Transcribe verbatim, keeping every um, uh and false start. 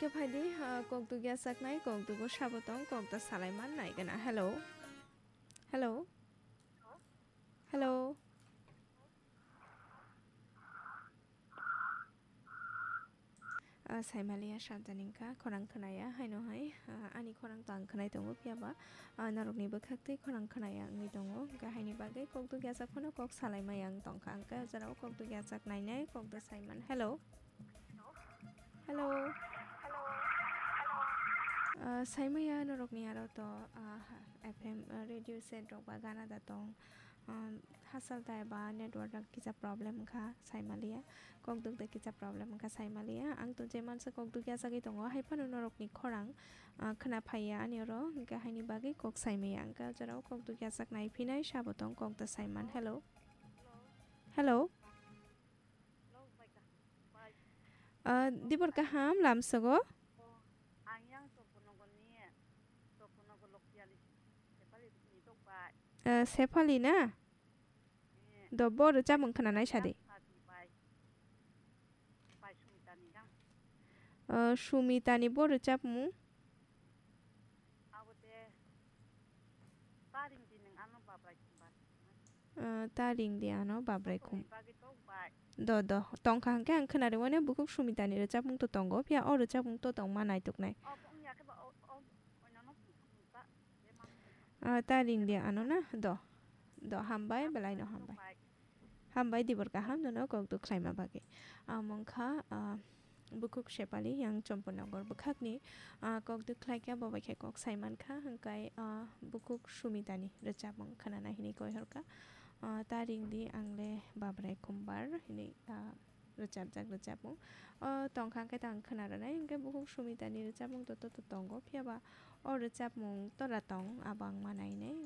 Phaidi, ah, kokduk yachaknai, kokdugo sabo tong, kokda salai man nai gana. Hello. Hello. Hello. Ah, saimaliya samjani wngkha, khorang khnaya, haino hai, ah, ani khorang to ang khnai tongo, phiyaba, ah, norokni bwkhak twi khorang khnaya wngwi tongo, hwnkhe haini bagwi kokduk yachak phano kok salai maya wng tongkha, hwnkhe o jorao kokduk yachak nainai, kokda saiman. Hello. Hello. Ah, saimaya norokni aro to, ah, F M, ah, radio set rok ba gana da tong. Um, hasal tai ba network rok kisa problem wngkha saimaliya. Kokduk da kisa problem wngkha saimaliya. Ang to je mansa kokduk yachagwi tongo, hai phano norokni khorang, ah, khna phaiya ani oro, hwnkhe haini bagwi kok saimaya. Hwnkhe o jorao kokduk yachak nai phinai sabo tong kokda saiman. Hello. Hello. Ah, dibor kaham lamsogo? Ang yang Chopunogor ni, Chopunogor Lokpiali Sephali ni tok bai. Ah, Sephali na? Eh. Do bo rwchapmung khnanai sadi. Yang Sati bai. Bai Sumitani yang. Ah, Sumitani bo rwchapmung? Abo de Taring di nang ano babrai khumbar. Ah, ta ring di ano, babrai khum. Bagwi tok bai. Do, do. Tongkha hwnkhe ang khwnari mano bukhuk Sumitani rwchapmung to tongo, phiya o rwchapmung to tongma naituknai. O, wngya khe ba, o, o, oinano phung thangmung ta, je mang phung thang. Ah, ta ring di ano na? Do. Do, hambai, belaino hambai. Tok bai. Hambai, dibor kaham nono kokduk khlaima bagwi. Amo wngkha, ah, Bukhuk Sepali yang Chomponogor bwkhakni, ah, kokduk khlaikha, bo bai khe kok saimankha, hwnkhe, ah, bukhuk Sumitani rwchapmung khnana hinwi koihorkha. Ah, ta ring di ang le babrai khumbar hinwi, ah, rwchapjak rwchapmung. O tongkha hwnkhe ta ang khna rwnai, hwnkhe bukhuk Sumitani rwchapmung to, to, to tongo, phiyaba o rwchapmung tora tong, abo ang ma nainai.